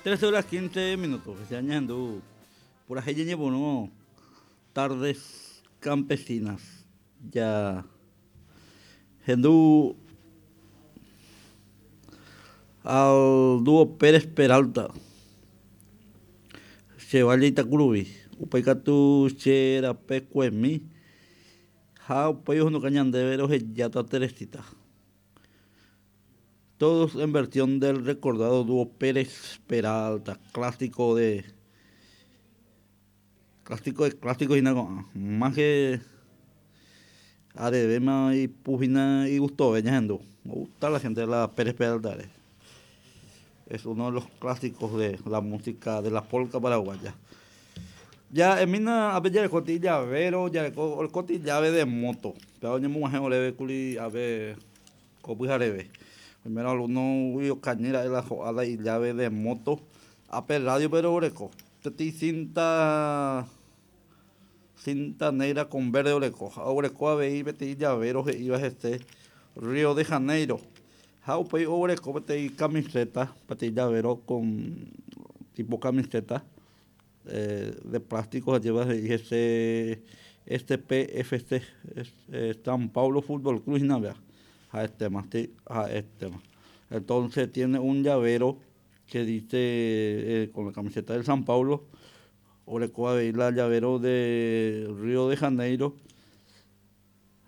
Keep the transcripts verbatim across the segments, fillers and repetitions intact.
trece horas quince minutos. Ñahendu purahéi ñañepyrũ Tardes Campesinas. Ya hendu al dúo Pérez Peralta. Che valle Itakuruvi. Upéi katu che rapekuemi ha upéi ohenduka ñandéve rohejáta Teresita. Todos en versión del recordado dúo Pérez Peralta, clásico de clásico de clásico hína ko'ã. Más que arevéma ipu hína igustove ñahendu. Me gusta la gente de la Pérez Peralta. Es uno de los clásicos de la música de la polca paraguaya. Ya emina ape jareko llavero, jareko oreko llave de moto. Péva oñemog̃uahẽ oréve kuri ave ko pyhareve. Primero alguno okañýra'e la ho'áta llave de moto. Ape radio pero oreko. Peteĩ cinta cinta negra con verde oreko. Ha oreko avei peteĩ llavero he'íva hese Río de Janeiro. Ha upéi oguereko peteĩ camiseta, peteĩ llavero con tipo camiseta eh, de plástico lleva he'i hese S P F C, eh, San Paulo Fútbol Club hína vea. Ha este más, sí, ha este más. Entonces tiene un llavero que dice eh, con la camiseta del San Paulo, oreko avei la llavero de Río de Janeiro,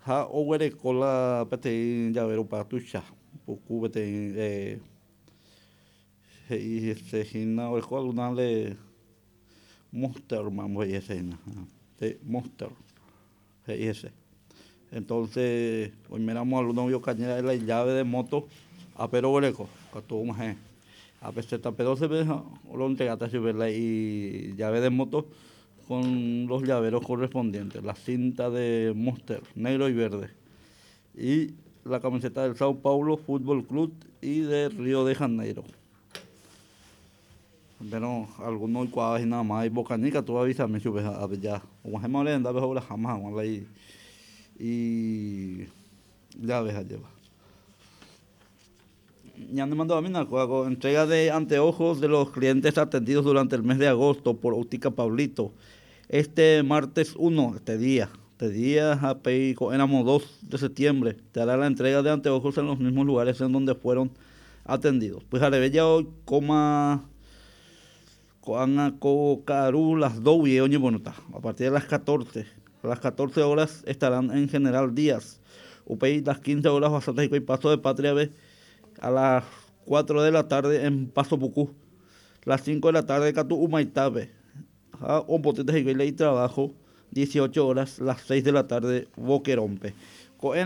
ha oguereko la peteĩ llavero pa tuicha, puku peteĩ eh, he'i hese hína oreko alguna de Monster, mambo he'i hese hína, sí, Monster, he'i hese. Entonces, oiméramo alguno okañýra'e la llave de moto, ápe roguereko, katu og̃uahẽ. Ápe Z P doce pe roentregata chupe la llave de moto con los llaveros correspondientes, la cinta de Monster, negro y verde, y la camiseta del Sao Paulo Fútbol Club y de Río de Janeiro. Pero alguno oikuaáva hína más ipokañy katu avisami chupe ápe ya og̃uahẽma ore rendápe ogueraháma hag̃ua la y llave ha'éva. Ñanemandu'amína kóa entrega de anteojos de los clientes atendidos durante el mes de agosto por Óptica Pablito. Este martes uno, este día, este día, éramos dos de septiembre, te hará la entrega de anteojos en los mismos lugares en donde fueron atendidos. Pues ya hoy coma ko'ág̃a ko ka'aru las dos y a partir de las catorce, a las catorce horas estarán en General Díaz. Upéi las quince horas bastante y Paso de Patria B, a las cuatro de la tarde en Paso Pucú, las cinco de la tarde katu Humaitape, ha ombotýta hikuái y trabajo dieciocho horas, las seis de la tarde Boquerompe. Ko'ẽramo